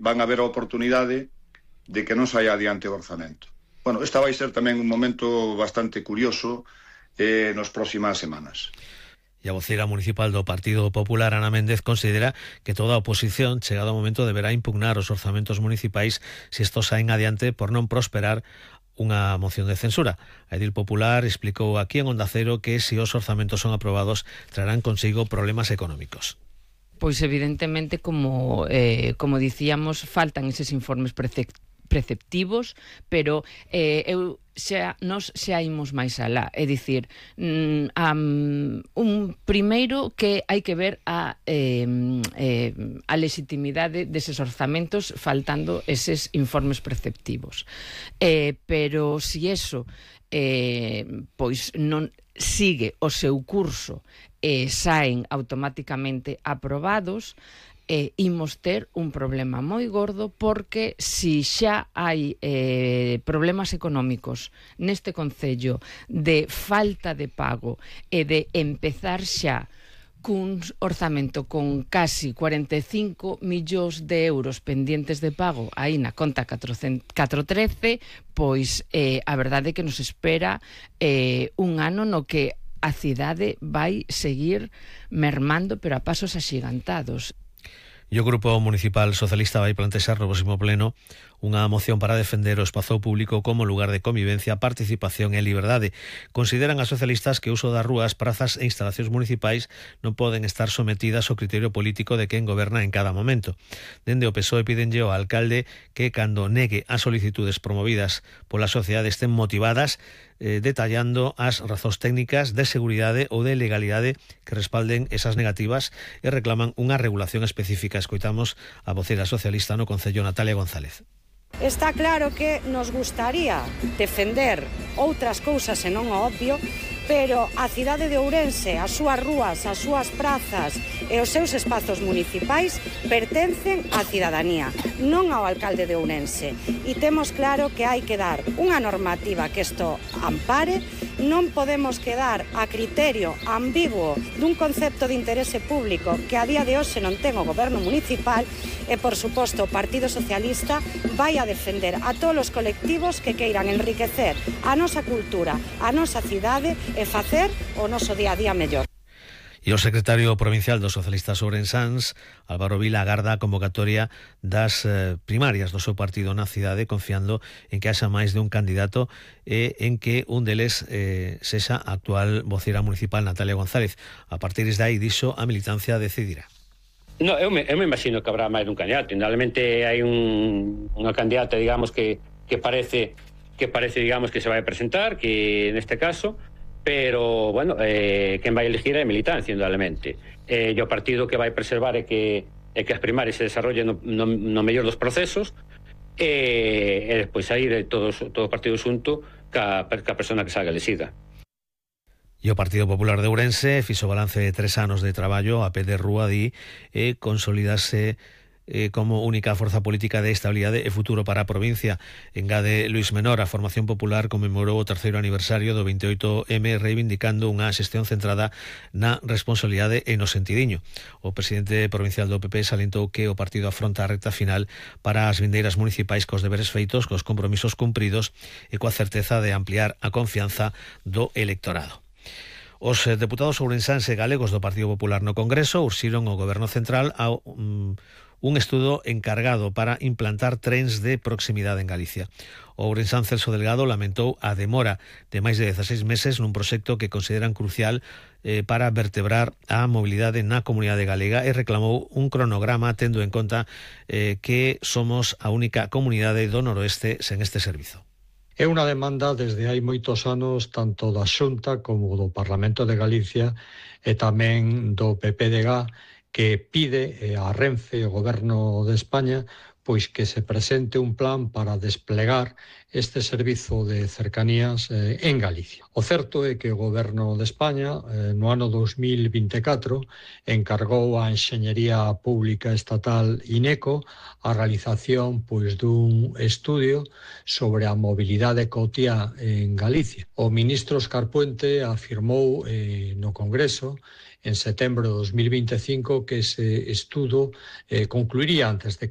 van a haber a oportunidade de que non saia adiante o orzamento. Bueno, esta vai ser tamén un momento bastante curioso nas próximas semanas. E a voceira municipal do Partido Popular, Ana Méndez, considera que toda a oposición, chegado o momento, deberá impugnar os orzamentos municipais se estos saen adiante por non prosperar unha moción de censura. A Edil Popular explicou aquí en Onda Cero que se os orzamentos son aprobados trarán consigo problemas económicos. Pois evidentemente, como dicíamos, faltan eses informes preceptivos, pero nós xa imos máis alá, é dicir, primeiro que hai que ver a legitimidade deses orzamentos faltando eses informes preceptivos, pero si eso pois non sigue o seu curso e saen automáticamente aprobados, imos ter un problema moi gordo, porque si xa hai problemas económicos neste concello de falta de pago e de empezar xa cun orzamento con casi 45 millóns de euros pendientes de pago aí na conta 413, pois a verdade é que nos espera un ano no que a cidade vai seguir mermando, pero a pasos axigantados. E o Grupo Municipal Socialista vai plantexar no próximo pleno unha moción para defender o espazo público como lugar de convivencia, participación e liberdade. Consideran as socialistas que o uso das rúas, prazas e instalacións municipais non poden estar sometidas ao criterio político de quen goberna en cada momento. Dende o PSOE pídenlle ao alcalde que, cando negue as solicitudes promovidas pola sociedade, estén motivadas, detallando as razóns técnicas de seguridade ou de legalidade que respalden esas negativas, e reclaman unha regulación específica. Escoitamos a voceira socialista no Concello, Natalia González. Está claro que nos gustaría defender outras cousas e non o obvio, pero a cidade de Ourense, as súas rúas, as súas prazas e os seus espazos municipais pertencen á cidadanía, non ao alcalde de Ourense. E temos claro que hai que dar unha normativa que isto ampare. Non podemos quedar a criterio ambiguo dun concepto de interese público que a día de hoxe non ten o goberno municipal, e, por suposto, o Partido Socialista vai a defender a todos os colectivos que queiran enriquecer a nosa cultura, a nosa cidade e facer o noso día a día mellor. E o secretario provincial dos socialistas ourensáns, Álvaro Vila, agarda a convocatoria das primarias do seu partido na cidade, confiando en que haxa máis de un candidato e en que un deles sexa a actual voceira municipal, Natalia González. A partir de aí, dixo, a militancia decidirá. No, eu me imagino que habrá máis dun candidato. Indudablemente hai unha candidata, digamos, que parece, digamos, que se vai a presentar, que neste caso, pero, bueno, quen vai elegir é a militancia, indudablemente. E o partido que vai preservar é que as primarias se desarrollen no mellor dos procesos, e despois sair todo o partido xunto ca persona que salga elegida. E o Partido Popular de Ourense fixo balance de 3 anos de traballo a pé de rúa, di, e consolidase como única forza política de estabilidade e futuro para a provincia. Engade Luís Menor, a Formación Popular conmemorou o 3º aniversario do 28M, reivindicando unha xestión centrada na responsabilidade e no sentidiño. O presidente provincial do PP salientou que o partido afronta a recta final para as vindeiras municipais cos deberes feitos, cos compromisos cumpridos e coa certeza de ampliar a confianza do electorado. Os deputados ourensáns e galegos do Partido Popular no Congreso urxiron ao Goberno Central a un estudo encargado para implantar trens de proximidade en Galicia. O ourensán Celso Delgado lamentou a demora de máis de 16 meses nun proxecto que consideran crucial para vertebrar a mobilidade na comunidade galega, e reclamou un cronograma tendo en conta que somos a única comunidade do noroeste sen este servizo. É unha demanda desde hai moitos anos tanto da Xunta como do Parlamento de Galicia e tamén do PPDG, que pide a Renfe e o Goberno de España pois que se presente un plan para desplegar este servizo de cercanías en Galicia. O certo é que o Goberno de España no ano 2024 encargou a Enxeñería Pública Estatal INECO a realización pois dun estudio sobre a mobilidade cotiá en Galicia. O ministro Óscar Puente afirmou no Congreso en setembro de 2025 que ese estudo concluiría antes de que